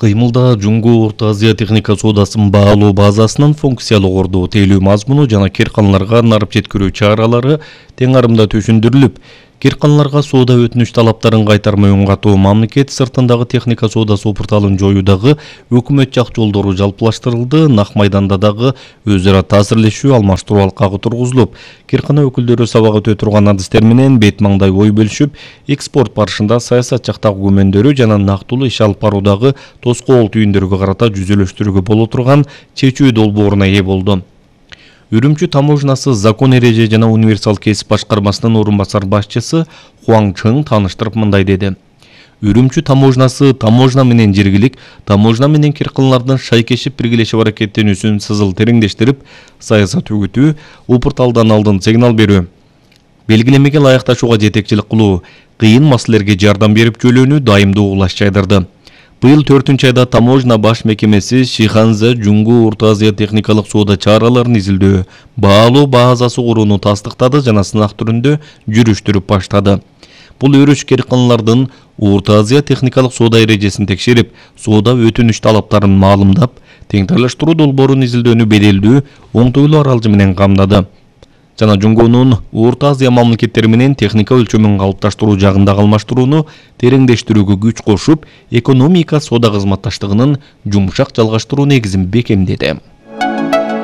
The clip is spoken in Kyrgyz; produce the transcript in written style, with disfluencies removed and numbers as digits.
Кыймылда Жунгу Орто Азия техника соодасынын баалоо базасынын функциялык орду тейлөө мазмуну жана кирканаларга нарып жеткирүү чаралары тең арымда түшүндүрүлүп, кирканаларга соода өтүнүч талаптарын кайтармай оң катуу мамлекет сыртындагы техника соода сопурталын жоюудагы өкмөт жак жолдору жалпылаштырылды. Нак майданда дагы өз ара таасирлешүү, алмаштыруу алкагы тургузулуп, киркана өкүлдөрү сабак өтө турган адистер менен бет маңдай ой бөлүшүп, экспорт барышында саясат жактагы күмөндөрү жана нактылуу иш алып баруудагы тоскоол түйүндөргө карата жүзөлөштүрүүгө боло турган чечүү долбооруна ээ болду. Үрүмчү таможнасы закон эреже жана универсал кесип башкармасынын орун басар башчысы Хуаң Чың тааныштырып мындай деди. Үрүмчү таможнасы таможна менен жергилик, таможна менен кирканалардын шайкешип биргелешип аракеттенүүсүн сызыл тереңдештирип, саясат үгүтүү, упурталдан алдын сигнал берүү, белгилемеге ылайыкташууга жетекчилик кылуу, кыйын маселелерге жардам берип жөлөөнү дайымдуу улаш жайдырды. Быйыл 4-айда таможна баш мекемеси Шиханза Жунгу Орто Азия техникалык соода чараларын изилдөө, баалоо базасы курууну тастыктады жана сынак түрүндө жүрүштүрүп баштады. Бул өрүш кирканалардын Орто Азия техникалык соода эрежесин текшерип, соода өтүнүч талаптарын маалымдап, теңдештирүү долбоорун изилдөөнү беделдүү, оңтойлуу аралжы менен камдады. Жана Жунгунун Орто Азия мамлекеттери менен техника өлчөмүн калыпташтыруу жагындагы алмаштырууну тереңдештирүүгө күч кошуп, экономика соода кызматташтыгынын жумшак жалгаштыруу негизин бекемдеди.